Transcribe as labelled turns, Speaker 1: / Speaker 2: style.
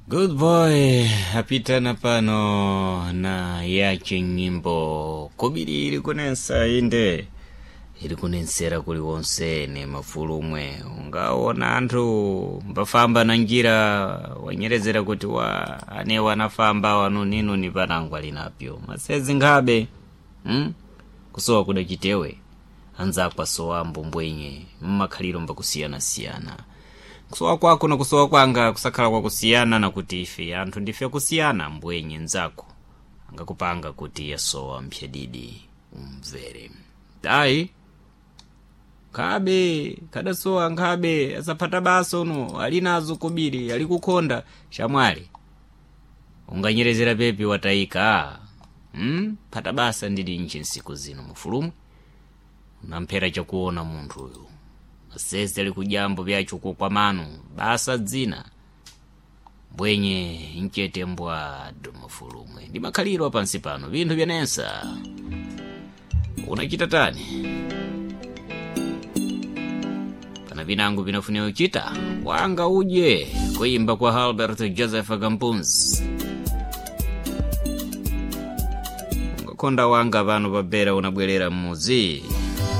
Speaker 1: Good boy apitana pano na yache nyimbo kobiri iri kunensa inde iri kunensera kuliwonse ne mafulumwe ungaona anthu mbafamba na njira wanyerezera kuti wa ane wanafamba wanuninuni panangwa linapyo masezi nkhabe Kusowa kuda chitewe anzakwa sowa mbumbwenye mmakhaliro mbakusiyanasiyana kusowa kwako na kusowa kwanga kusakhala kwakusiyana nakuti ife anthu ndife kusiyana mbwenye nzako angakupanga kuti yasowa mphyadidi umvere tayi nkhabe khadasowa nkhabe asaphata baso uno ali nazo kobiri ali kukhonda shamwali unganyerezera pepi watayika Phata basa ndili nchi nsiku zino mufulumwe unamphera chakuona munthu uyu masese ali kujambo vyacho kwa manu basa dzina mbwenye mchete mbwado mafulumwe ndi makhaliro pansi pano vinthu vyanensa unachita tani pana vinango vinafunika kuchita wanga udye kuimba kwa Albert Joseph Gampuns ungakonda wanga pano pabera unabwerera mmuzi.